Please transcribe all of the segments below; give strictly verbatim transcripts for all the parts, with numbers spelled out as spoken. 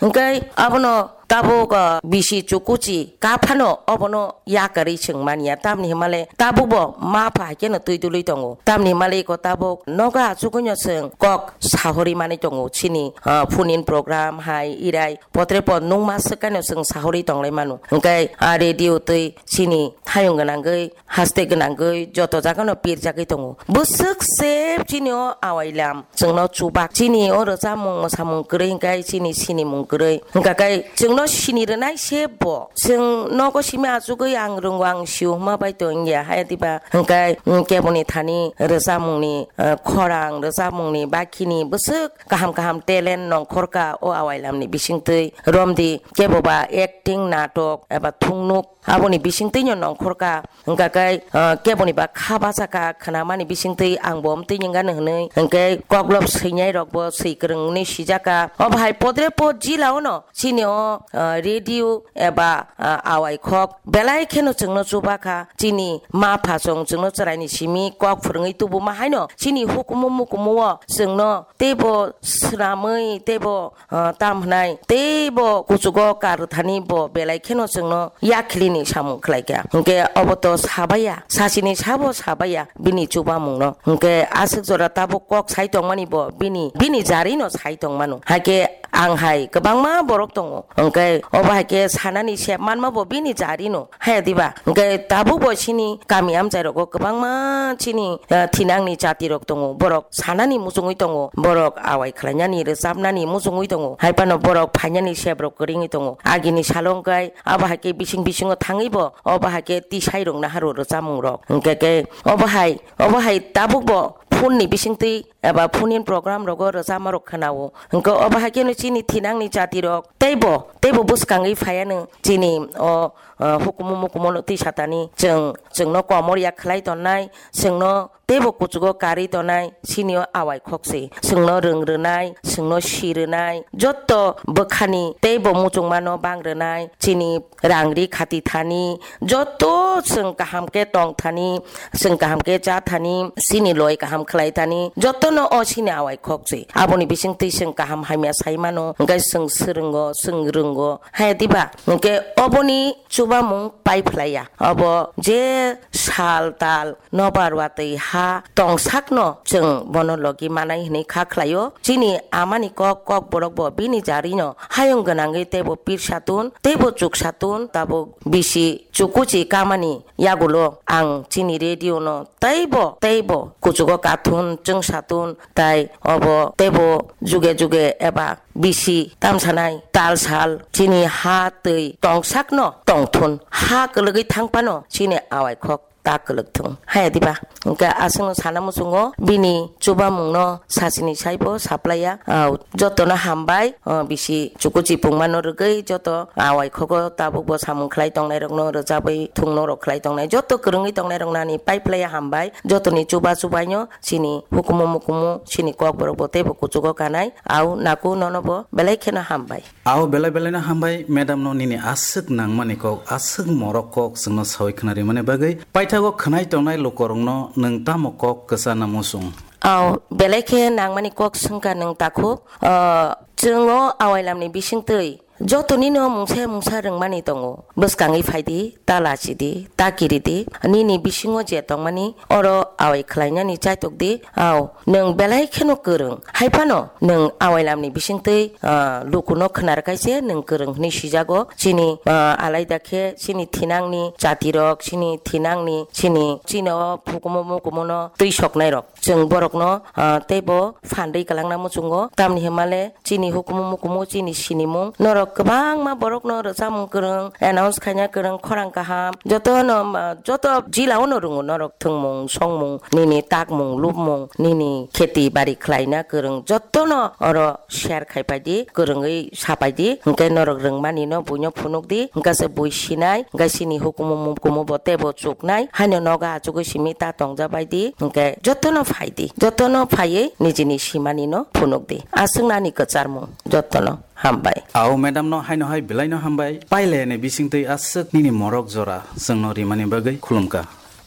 Hwnkhe abono tabuk, ah, bisi chukuchi kaphano obono yakarwi chwng manya. Tamni hwnmale tabukbo ma pha haikhe no twi dului tongo. Tamni hwnmale iko tabuk nogo achugwino chwng kok sahorwi manwi tongo. Chini, ah, phone in program hai irai potre pod nungma swkano chwng sahorwi tonglai mano. Hwnkhe a radio twi chini hayung gwnangwi haste gwnangwi joto jagano pirjagwi tongo. Bwswk se chini o awailam chwngno chubak. Chini o rwchapmung mwsamung kwrwi hwnkhe chini sinimung kwrwi. Hwnkha khe chwngno sini rwnai se bo. Chwng nogo simi achugwi ang rwngo, ang sio hwnma bai to wngya. Haya diba hwnkhe, mm, keboni thani rwchapmungni, eh, khorang, rwchapmungni bakhini bwswk kaham kaham talent nongkhorka o awailamni bisingtwi. Romdi keboba acting, natok eba thungnuk aboni bisingtwino nongkhorka. Hwnkha khe, ah, keboni ba kha bachakha khwnamani bisingtwi ang bo omtwi nengano hwnwi. Hwnkhe koklop swinai rokbo swi kwrwng hwnwi sijaka. Obo hai podre pod jila ono chini o, ah, radio eba, ah, awai khok belai kheno chwngno chubakha. Chini ma pha chwng chwngno chwraini simi kok phwrwngwi tubuma haino chini hukumu mukumu o chwngno teibo swnamwi teibo ah, tam hwnai teibo kuchugo kar thani bo belai kheno chwngno yakhilini samung khlaikha. Hwnkhe obo to sabaiya, sachini sabo sabaiya bini chubamungno. Hwnkhe aswk jora tabuk kok sai tongmani bo bini, bini jarino sai tongmano. Haikhe ang hai kwbangma borok tongo. Hwnkhe obo haikhe sanani sep manma bo bini jarino. Haya diba? Hwnkhe tabuk bo chini kami amchai rogo kwbangma chini, eh, thinangni jati rok tongo. Borok sanani muchungwi tongo. Borok awai khlainani, rwchapnani muchungwi tongo. Hai phano borok phainani sep rok kwrwngwi tongo. Agini salo hwnkhe abo hai khe bising bisingo thangwi bo, obo hai khe tisai rok naharw rwchapmung rok. Hwnkhe khe obo hai, obo hai tabuk bo phone ni bisingtwi eba phone in program rogo rwchapma rok khwnao. Hwnkhe obo hai kheno chini thinangni jati rok teibo, teibo bwskangwi phaiano chini o, o, hukumu mukumu no twi satani chwng, chwngno komor ya khlai tonnai, chwngno teibo kuchugo karwi tonai, chini o awai khok se. Chwngno rwng rwnai, chwngno si rwnai, jotto bwkhani teibo muchungmano bang rwnai, chini rang ri khati thani, jotto chwng kaham khe tong thani, chwng kaham khe cha thani, chini loi kaham khlai thani, jottono o chini awai khok se. Aboni bisingtwi chwng kaham hamya sai mano, hwnkhe chwng swrwngo, chwng rwngo, hai diba? Hwnkhe oboni chubamung pai phlaiya. Obo je sal tal nobar watwi ha tongsakno chwng bono logi manai hwnwi kha khlaio. Chini amani kok, kok borok bo bini jarino hayung gwnangwi teibo pirsa tun, teibo chuksa tun, tabuk bisi chukuchi kamani yagulo ang chini radio no teibo, teibo kuchugo kathun, chwngsa tun, tai obo teibo juge juge eba bisi tamsanai tal sal chini ha twi tongsakno tongthun, ha kwlwgwi thang phano chini awai khok ta kwlwk thung. Haya diba? Hwnkhe aswkno sana muchungo bini chubamungno sachini saibo saplaiya. Ah, jotono hambai, ah, bisi chukuchi pungmano rwgwi joto awai khogo tabukbo samung khlai tongnairokno rwchabwi thungno rok khlai tongnai joto kwrwngwi tongnairokno ani pai phlaiya hambai. Jotoni chuba chubaino chini hukumu mukumu chini kokborok bo teibo kuchugo kanai. Au naku nono bo belai kheno hambai. Au belai belaino hambai madam no nini aswk nangmani kok, aswk morok kok chwngno sawi khwnarimani bagwi. Paithago khwnai tongnai lukorokno nwng tamo kok kwchana muchung? Au belai khe nangmani kok swngkha nwng takhuk. Ah, chwng o awailamni bisingtwi jotonino mungsa mungsa rwngmani tongo. Bwskangwi phaidi, ta lachidi, ta kiridi, nini bisingo je tongmani oro awai khlainani chaitokdi. Au, nwng belai kheno kwrwng. Hai phano nwng awailamni bisingtwi, ah, lukuno khnar kaise nwng kwrwng hwnwi sijago. Chini, ah, alaida khe chini thinangni jatirok, chini thinangni, chini, chini o hukumu mukumuno twi soknairok. Chwng borokno, ah, teibo phandwi kwlangna muchungo. Tamni hwnmale chini hukumu mukumu chini sinimung. Norok kwbangma borokno rwchapmung kwrwng, announce khaina kwrwng, khorang kaham. Jotono, ah, joto jila ono rwngo norok thwngmung, songmung, nini takmung, lubmung, nini kheti bari khlaina kwrwng. Jotono oro share khai paidi, kwrwngwi sapaidi, hwnkhe norok rwngmani no buino phunukdi, hwnkhe se bui sinai, hwnkhe chini hukumu mukumu bo teibo chuknai, haino nogo achugwi simi ta tongjabaidi, hwnkhe jotono phaidi, jotono phaiwi nijini simani no phunukdi. Aswk nani kwcharmung, jotono hambai. Au madam no haino hai belai no hambai, paileni bisingtwi aswk nini morok jora chwngno rimani bagwi khulumkha.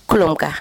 Khulumkha.